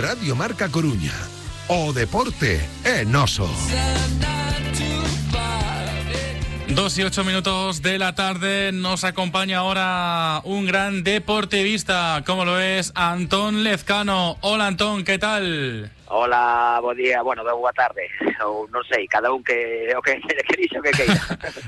Radio Marca Coruña. O deporte é noso. 2:08 de la tarde, nos acompaña ahora un gran deportivista, como lo es Antón Lezcano. Hola Antón, ¿qué tal? Hola, bo día, bueno, boa tarde, ou non sei, cada un que o que queríxe o que queira.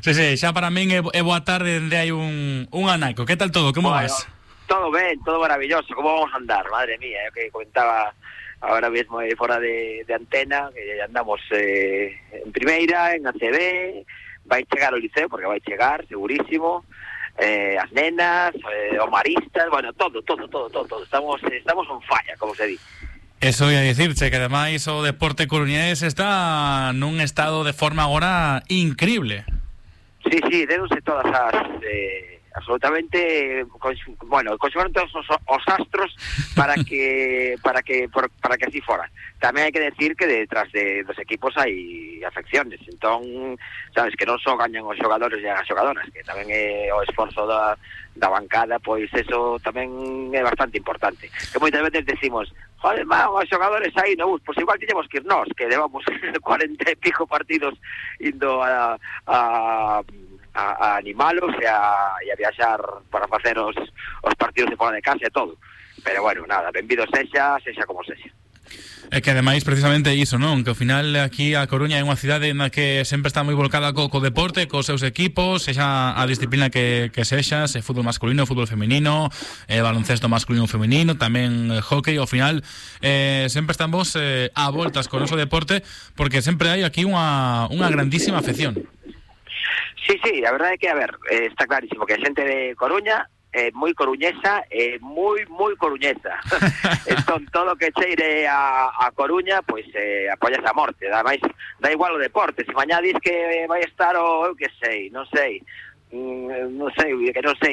Sí, xa para min é boa tarde dende hai un anaco. Que tal todo, como vas? Todo ben, todo maravilloso, como vamos a andar, madre mía, que comentaba ahora mesmo fora de antena, que andamos en primeira, en ACB. Vai chegar o Liceo, porque vai chegar, segurísimo, as nenas, os maristas, bueno, todo. Estamos on falla, como se di. Eso ia dicirche, que ademais o deporte coruñés está nun estado de forma agora increíble. Sí, déronse todas as... absolutamente, bueno, conservaron todos os astros para que así fora. Tamén hai que decir que detrás dos equipos hai afecciones, entón, sabes, que non só gañan os xogadores e as xogadoras, que tamén é o esforzo da bancada, pois eso tamén é bastante importante. Que moitas veces decimos, joder, os xogadores aí no bus, pois igual tiñemos que ir nós, que levamos 40 e pico partidos indo a animalos e a viaxar para facer os partidos de fora de casa e todo. Pero bueno, nada, benvido sexa como sexa. É que ademais precisamente iso, non? Que ao final aquí a Coruña é unha cidade na que sempre está moi volcada co deporte, cos seus equipos, sexa a disciplina que sexa, se fútbol masculino, fútbol feminino, baloncesto masculino e feminino, tamén hockey. Ao final sempre estamos a voltas con o noso deporte, porque sempre hai aquí unha grandísima afección. Sí, a verdade é que, a ver, está clarísimo que a xente de Coruña é moi coruñesa, moi coruñesa. Entón, todo o que cheire a Coruña, pois apoias a morte. Ademais, da igual o deporte. Se mañá dis que vai estar eu que sei, non sei,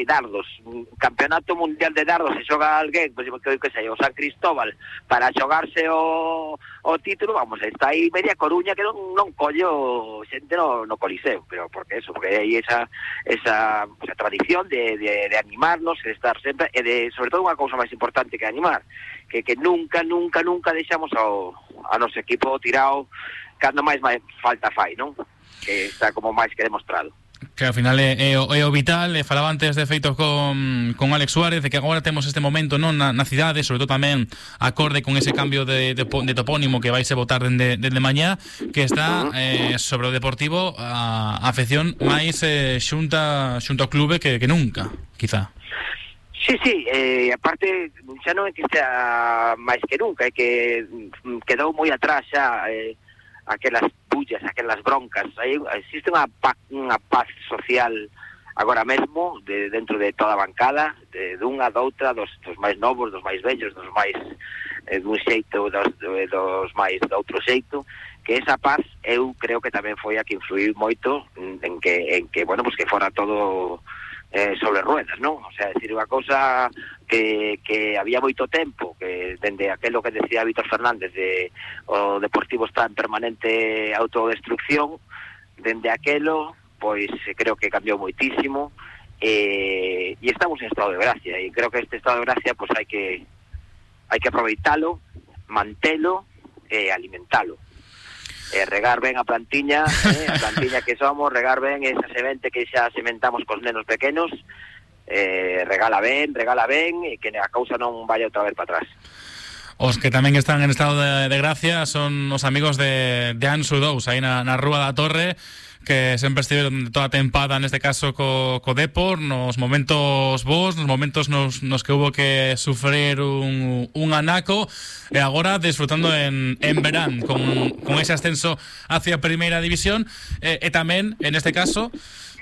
dardos, campeonato mundial de dardos, se xoga alguén, pois que sei, o San Cristóbal, para xogarse o título, vamos, está aí media Coruña que non collo xente no Coliseo, pero porque hai esa tradición de animarnos, de estar sempre, e de, sobre todo, unha cousa máis importante que animar, que nunca deixamos ao noso equipo tirado cando máis falta fai, non? Que está como máis que demostrado. Que ao final é o vital. Falaba antes de feito con Alex Suárez de que agora temos este momento, non, na cidade, sobre todo tamén acorde con ese cambio de topónimo que vaise votar dende mañá, que está sobre o Deportivo a afección máis xunta ao clube que nunca, quizá. Sí, aparte xa non é que sea máis que nunca, é que quedou moi atrás xa aquelas pullas, aquelas broncas. Existe unha paz social agora mesmo dentro de toda a bancada, dunha, doutra, dos máis novos, dos máis vellos, dos máis dun xeito, dos máis de outro xeito, que esa paz eu creo que tamén foi a que influiu moito en que bueno, pues que fora todo sobre ruedas, non? O sea, decir unha cousa que había moito tempo, que dende aquelo que decía Víctor Fernández de o Deportivo está en permanente autodestrucción, dende aquelo, pois creo que cambiou moitísimo, e estamos en estado de gracia, e creo que este estado de gracia pois hai que aproveitalo, mantelo e alimentalo. Regar ben a plantiña, a plantiña que somos, regar ben esa semente que xa sementamos cos nenos pequenos, regala ben, e que a cousa non vaya outra vez para atrás. Os que tamén están en estado de gracia son os amigos de Ansu 2, aí na Rúa da Torre, que sempre estiveron toda a tempada, neste caso co Depor, nos momentos bons, nos momentos nos que hubo que sufrir un anaco, e agora desfrutando en verán con ese ascenso hacia a Primeira División, e tamén, en este caso,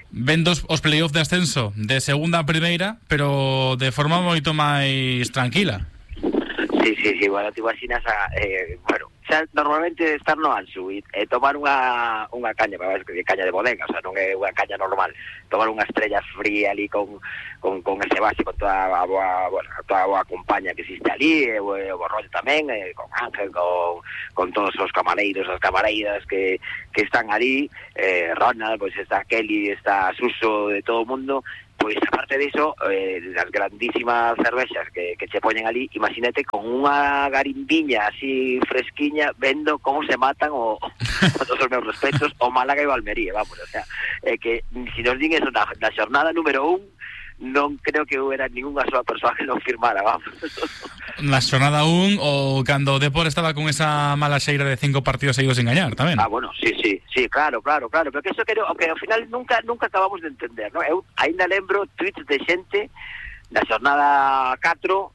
vendo os playoff de ascenso de segunda a primeira, pero de forma moito máis tranquila. Sí, bueno, te imaginas bueno, xa normalmente estar no Ansu e tomar unha caña, caña de bodega, o sea, non é unha caña normal, tomar unha estrella fría ali con ese base, con toda a boa, bueno, toda a boa compañía que existe ali, o rollo tamén, con Ángel, con todos os camareiros, as camareiras que están ali, Ronald, pois está Kelly, está Suso, de todo o mundo, Pois aparte diso, das grandísimas cervexas que che poñen ali, imagínate con unha garimbiña así fresquiña vendo como se matan con todos os meus respetos o Málaga e o Almería, vamos, o sea, que si nos din eso na xornada número 1, non creo que hubiera ninguna sola persoa que non firmara, vamos. Na xornada 1 ou cando o Depor estaba con esa mala xeira de 5 partidos seguidos sin gañar, tamén. Bueno, sí, claro, pero que eso que ao final nunca acabamos de entender, ¿no? Eu ainda lembro tweets de xente na xornada 4,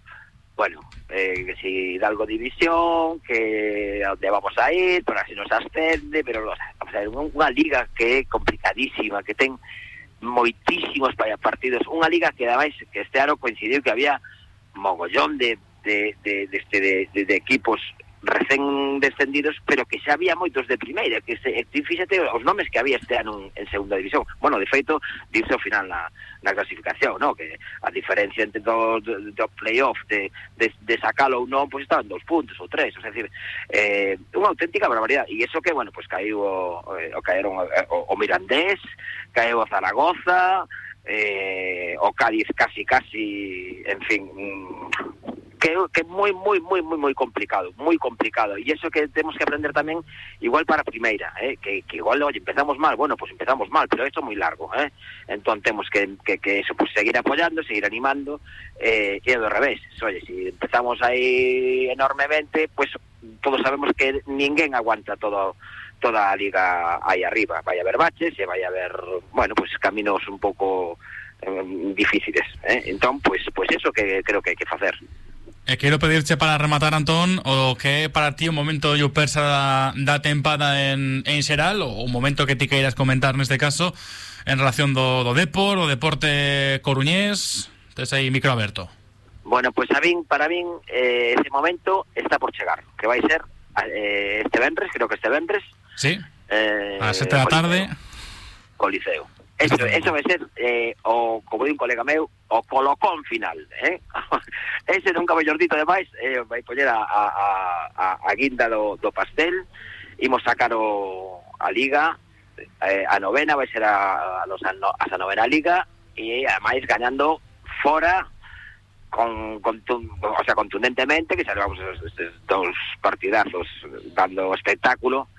bueno, que si Hidalgo división, que a onde vamos a ir, para si nos ascende, pero vamos a ver, unha liga que é complicadísima, que ten moitísimos partidos, unha liga que ademais que este ano coincidiu que había mogollón de equipos recén descendidos, pero que xa había moitos de primeira, que fíxate os nomes que había este ano en segunda división. Bueno, de feito, dice ao final na clasificación, ¿no? Que a diferencia entre do playoff de sacalo ou non, pues estaban 2 puntos ou 3, o sea, decir, unha auténtica barbaridade. E iso que, bueno, pues caíu caeron o Mirandés, caeu o Zaragoza, o Cádiz casi, en fin, que moi complicado, e iso que temos que aprender tamén igual para a primeira, que igual, oye, empezamos mal, bueno, pues empezamos mal, pero isto é moi largo, entón temos que eso, pues seguir apoyando, seguir animando, e do revés, oye, si empezamos aí enormemente, pues todos sabemos que ninguén aguanta toda a liga aí arriba, vai haber baches e vai haber, bueno, pues caminos un pouco difíciles, entón, pues eso que creo que hai que facer. Quero pedirche para rematar, Antón, o que é para ti o momento Yupersa da tempada en xeral, ou o momento que ti queiras comentar neste caso en relación do Depor, o deporte coruñés. Tes aí micro aberto. Bueno, pues para min ese momento está por chegar, que vai ser este venres, creo que este venres. Sí, a 7 da tarde. Coliseo. Eso vai ser, como di un colega meu, o colocón final, ese nunca mellordito demais, vai poñer a guinda do pastel, imos sacar a liga, a novena vai ser a novena liga, e ademais gañando fora, contundentemente, que salvamos estes 2 partidazos dando espectáculo.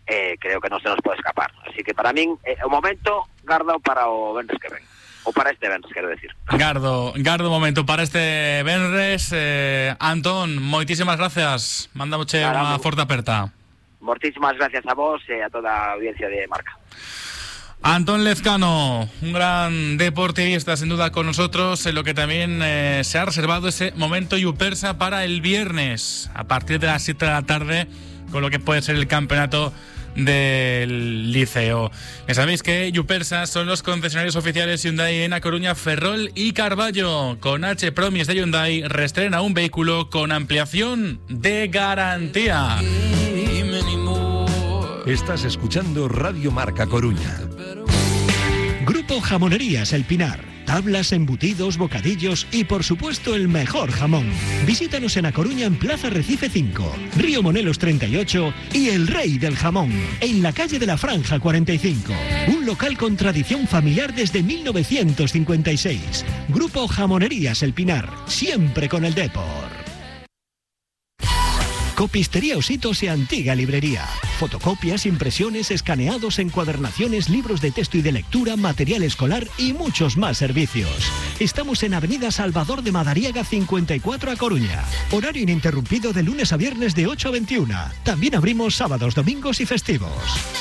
Creo que non se nos pode escapar, así que para min o momento gardo para o venres que ven, ou para este venres, quero decir. Gardo momento para este venres. Antón, moitísimas gracias, mandamoche unha forte aperta. Moitísimas gracias a vos e a toda a audiencia de Marca. Antón Lezcano, un gran deportivista sin duda con nosotros, en lo que también se ha reservado ese momento Yupersa para el viernes a partir de las 7 de la tarde, con lo que puede ser el campeonato del Liceo. Ya sabéis que Yupersa son los concesionarios oficiales Hyundai en A Coruña, Ferrol y Carballo. Con H Promis de Hyundai reestrena un vehículo con ampliación de garantía. Estás escuchando Radio Marca Coruña. Grupo Jamonerías El Pinar. Tablas, embutidos, bocadillos y por supuesto el mejor jamón. Visítanos en A Coruña en Plaza Recife 5, Río Monelos 38 y El Rey del Jamón, en la calle de la Franja 45. Un local con tradición familiar desde 1956. Grupo Jamonerías El Pinar, siempre con el Depor. Copistería Ositos y Antigua Librería. Fotocopias, impresiones, escaneados, encuadernaciones, libros de texto y de lectura, material escolar y muchos más servicios. Estamos en Avenida Salvador de Madariaga 54 A Coruña. Horario ininterrumpido de lunes a viernes de 8 a 21. También abrimos sábados, domingos y festivos.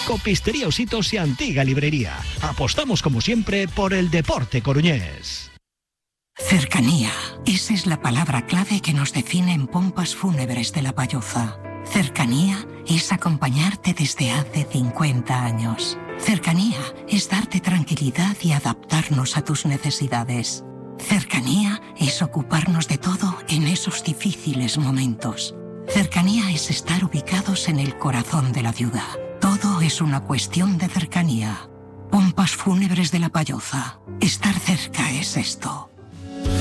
Copistería Ositos y Antigua Librería. Apostamos como siempre por el deporte coruñés. Cercanía. Esa es la palabra clave que nos define en Pompas Fúnebres de La Payoza. Cercanía es acompañarte desde hace 50 años. Cercanía es darte tranquilidad y adaptarnos a tus necesidades. Cercanía es ocuparnos de todo en esos difíciles momentos. Cercanía es estar ubicados en el corazón de la ciudad. Todo es una cuestión de cercanía. Pompas Fúnebres de La Payoza. Estar cerca es esto.